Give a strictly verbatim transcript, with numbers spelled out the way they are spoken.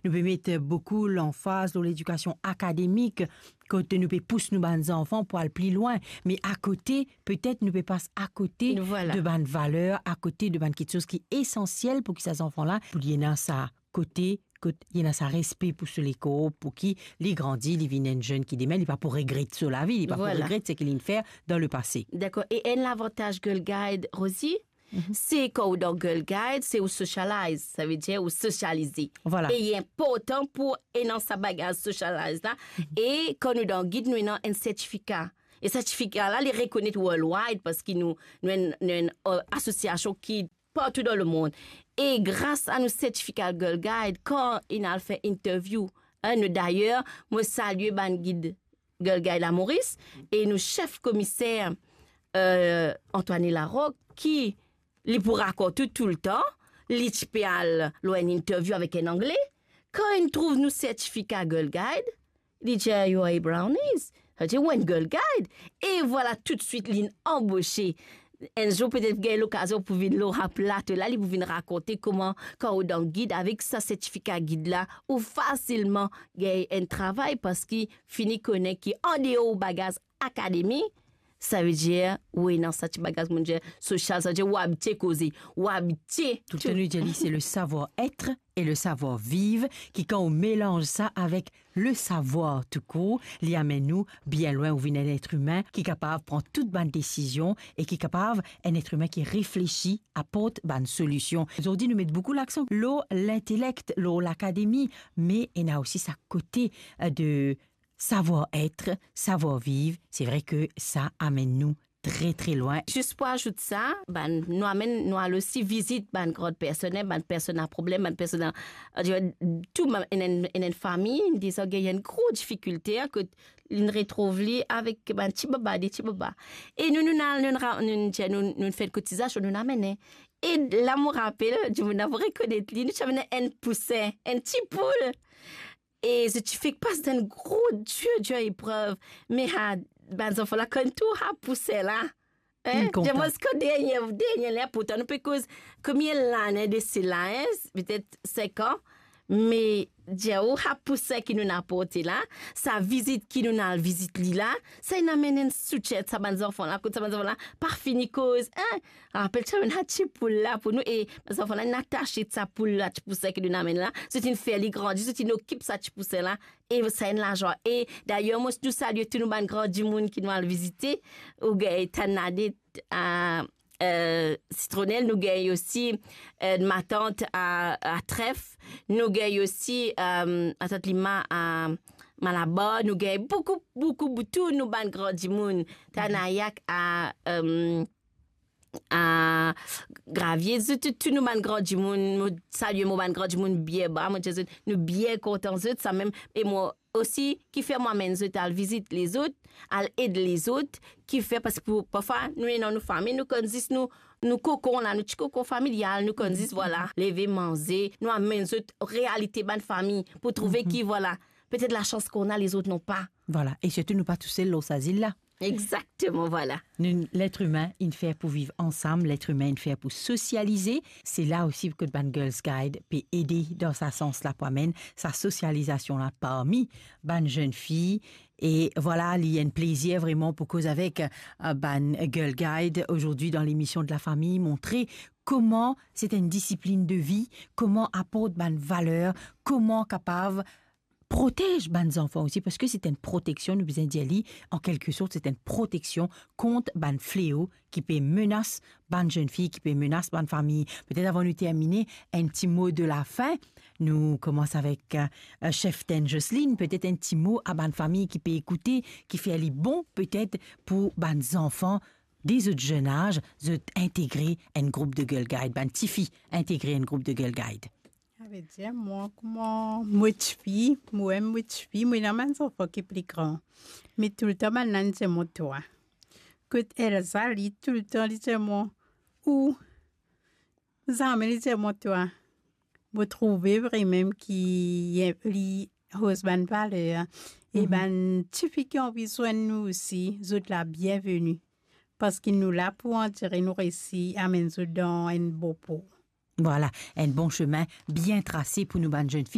nou pe met boukou lanfaz lor ledikasion akademik, kot nou pe pous nou bann zanfan pou al pli lwin, me akote, petet nou pe pas akote de bann valer, akote de bann kiksoz ki esansiel pou ki sa zanfan la, pou li ena sa kote, kot li ena sa respe pou so lekor, pou ki li grandi, li vinn enn zenn ki demin, li pa pou regret so lavi, li pa pou regret seki linn fer dan lepase. Dakor. E enn lavantaz Girl Guide, Rosie, se kan ou dan Girl Guide, se ou socialize, savedir ou sosialize. Vwala. E li inportan pou ena sa bagaz socialize la. E kan nou dan gid, nou ena enn sertifika. E sertifika la, li rekonet worldwide, parski nou, nou enn, nou enn, euh, asosiasion ki partou dan lemond. E gras a nou sertifika Girl Guide, kan inn al fer interview, hein, nou, dayer, mo salie bann gid Girl Guide Lamoris, e nou sef komiser, euh, Antoine Larocque, ki li pou rakont ou toultan, li ti pe al lor enn interview avek enn Angle, kan inn trouv nou sertifika Girl Guide, li dir, "You are a Brownies." Sa vedir, "Ou enn Girl Guide." E vwala, toutswit, linn anbose. Enn zour, petet gagn lokazion pou vinn lor sa plato la, li pou vinn rakonte kouma, kan ou dan gid, avek sa sertifika gid la, ou fasilman gagn enn travay, parski fini kone ki andeor ou bagaz akademi, savedir, ou ena sa ti bagaz, kouma dir, sosial, savedir, ou abitie koze, ou abitie. Toultan nou dir li, se le savoir-être et le savoir-vivre, ki kan ou melanz sa avek le savwar toukour, li amenn nou bien lwin, ou vinn enn et imin ki kapav pran tou bann desizion e ki kapav enn et imin ki reflesi, aport bann solision. Zordi, nou met boukou laksan lor lintelek, lor lakademi, me ena osi sa kote, euh, de savoir-être, savoir-vivre. Se vre ke sa amenn nou tre, tre lwin. Zis pou azout sa, bann, nou amenn, nou al osi vizit bann gran personn, bann personn a problem, bann personn a, euh, tou bann, enn, enn, enn fami, deza gagn enn gro difikilte, hein, kot linn retrouv li avek bann ti baba, de ti baba. E nou, nou, nou, nou, nou, nou, nou, nou fer kotizasion, nou amenn. E la, mo rapel, dimoun la pou rekonet li, nou ti amenn enn pousin, enn ti poul. E zot ti fek pas dan enn gro dir, dir eprev. Me sa, bann zanfan la, kan tou sa pousin la, hein, inn kontan. Zis kan dernie, dernie la, pourtan nou pe koz konbien lane de sela, hein, petet sink an, me dir ou sa pousin ki nou aport la, sa vizit ki nou al vizit li la, sa inn amenn enn soutien sa bann zanfan la, kot sa bann zanfan la pa fini koz, hein, rapel ti amenn sa ti poul la pou nou, e bann zanfan la inn atase sa poul la, ti pousin ki nou amenn la, zot inn fer li grandi, zot inn okip sa ti pousin la, e sa enn lazwa. E dayer, mo, nou salie tou nou bann gran dimoun ki nou al vizite, ou gagn Tann Nadet a, euh, Sitronel, nou gagn osi, euh, matant a, a Tref, nou gagn osi, euh, matant Lima a Malabar, nou gagn boukou, boukou, boukou, tou nou bann gran dimoun, Tanayak a, euh, a Gravie, zot tou, tou nou bann gran dimoun, mo salie mo bann gran dimoun bien ba, mo dir zot, nou bien kontan zot, samem, e mo osi, ki fer mo amenn zot al vizit lezot, al ed lezot, ki fer, parski pou, parfwa, nou ena nou fami, nou konn zis nou, nou kokon la, nou ti kokon familial, nou konn zis, vwala, leve, manze, nou amenn zot realite bann fami, pou trouve ki, vwala, petet lasans ki nou ena, lezot napa. Vwala, e sirtou nou pa tousel lor sa zil la. Exakteman, vwala. Nou, let imin, inn fer pou viv ansam, let imin, inn fer pou sosialize. Se la osi kot bann Girls Guide pe ede dan sa sans la pou amenn sa sosializasion la parmi bann zenn fi. E vwala, li enn plezir vreman pou koz avek, euh, bann Girl Guide ozordi dan lemision de la fami, montre kouma se enn disiplinn de vi, kouma aport bann valer, kouma kapav protez bann zanfan osi, parski se enn proteksion, nou bizin dir li, an kelke sort, se enn proteksion kont bann fleo ki pe menas bann zenn fi, ki pe menas bann fami. Petet avan nou termine, enn ti mo de lafin. Nou koumans avek, euh, cheftenn Jocelyne, petet enn ti mo a bann fami ki pe ekoute, ki fer li bon, petet pou bann zanfan de zot zenn az, zot integre enn group de Girl Guide, bann tifi integre enn group de Girl Guide. Savedir, mwa, kouma mo tifi, mwa, mo tifi, mo ena bann zanfan ki pli gran. Me toultan bann la inn dir mwa twa. Kot Elsa, li toultan li dir mwa, ou, zame li dir mwa twa. Mo trouve vremem ki li roz bann valer. E bann tifi ki anvi zwenn nou osi, zot la bienveni. Parski nou la pou ansir nou resi amenn zot dan enn bon por. Vwala, enn bon sime bien trase pou nou bann zenn